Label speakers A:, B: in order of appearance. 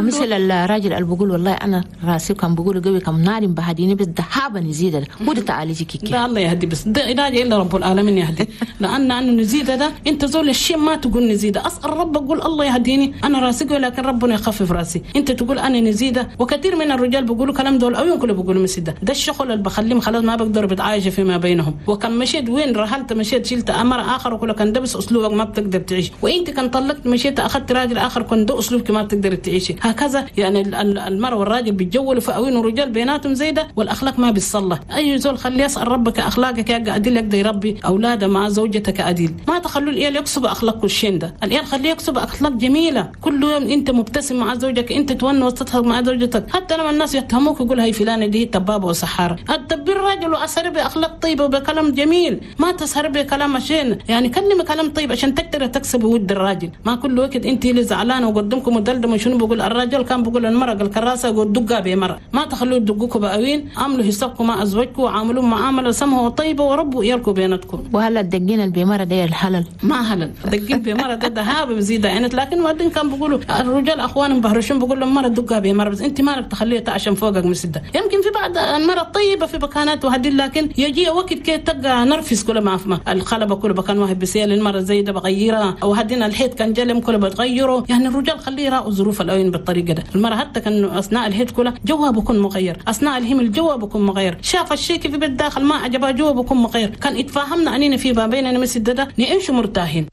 A: ومثل الراجل اللي بقول والله انا راسي كان بقول قوي كم نار بهديني بس دهابه نزيد ده وده تعالجي كيكي.
B: ده الله يهدي، بس ده علاج الا رب العالمين يهدي. لان انه نزيد ده انت زول الشيء ما تقول نزيد، اسال ربك قول الله يهديني انا راسي قوي لكن ربنا يخفف راسي. انت تقول انا نزيده، وكثير من الرجال بيقولوا كلام دول او يمكن بيقولوا مثل ده الشغل اللي بخليهم خلاص ما بقدروا بتعايشوا فيما بينهم. وكان مشيت وين رحلت مشيت شلت امر اخر وكل كان ده بس اسلوبك ما بتقدر تعيش، وانت كان طلقت مشيت اخذت راجل اخر كان ده اسلوبك ما بتقدر تعيشي. هكذا يعني المرأة والراجل بيتجولوا في اوين ورجال بيناتهم زي ده، والاخلاق ما بيتصلح. اي زول خليه يسال ربك اخلاقك يا عديل يقدر يربي اولاده مع زوجتك عديل. ما تخلوا العيال يكسبوا اخلاق الشين ده، العيال خليه يكسب اخلاق جميلة. كل يوم انت مبتسم مع زوجك، انت تونس وتضحك مع زوجتك، حتى لما الناس يتهموك يقول هاي فلانه دي تبابه وسحاره. التبي الراجل واسهر باخلاق طيبة وبكلام جميل، ما تسهر بكلام شين، يعني كلمة كلام طيب عشان تقدر تكسب ود الراجل. ما كل وقت انت اللي زعلانة وقدمكم مدلدم شنو بقول الراجل كان بقول المرأة الكراسة يقول دقها بمرة. ما تخلوه يدقوكم بأوين، عملوا حسابكم مع ازواجكم وعاملوا معاملة سمحه وطيبة وربوا عيالكم بيناتكم.
A: وهلا الدقين اللي بمرة ده الحلل؟
B: ما هلل دقين بمرة ده دهاب بزيد يعني، لكن وبعدين كان بيقولوا الرجال اخوانهم بهرشون بقول لهم مرة دقها بمرة، بس انت مالك تخليها تعشم فوقك مسده. يمكن في بعض المرة الطيبة في مكانات وهدي، لكن يجي وقت كي تلقى نرفس كل ما فما الخلبه كل بكان واحد بسيل المرة زي ده بغيرها، او هدينا الحيط كان جلم كله بتغيره. يعني الرجال خليه يراعوا ظروف الاوين بالطريقة ده. المرأة حتى كان اثناء الهيد كلها جوها بكون مغير، اثناء الهم الجو بكون مغير، شاف الشيء في بالداخل ما عجبها جوا بكون مغير. كان اتفاهمنا اننا في ما بيننا مثل ده نعيش مرتاحين.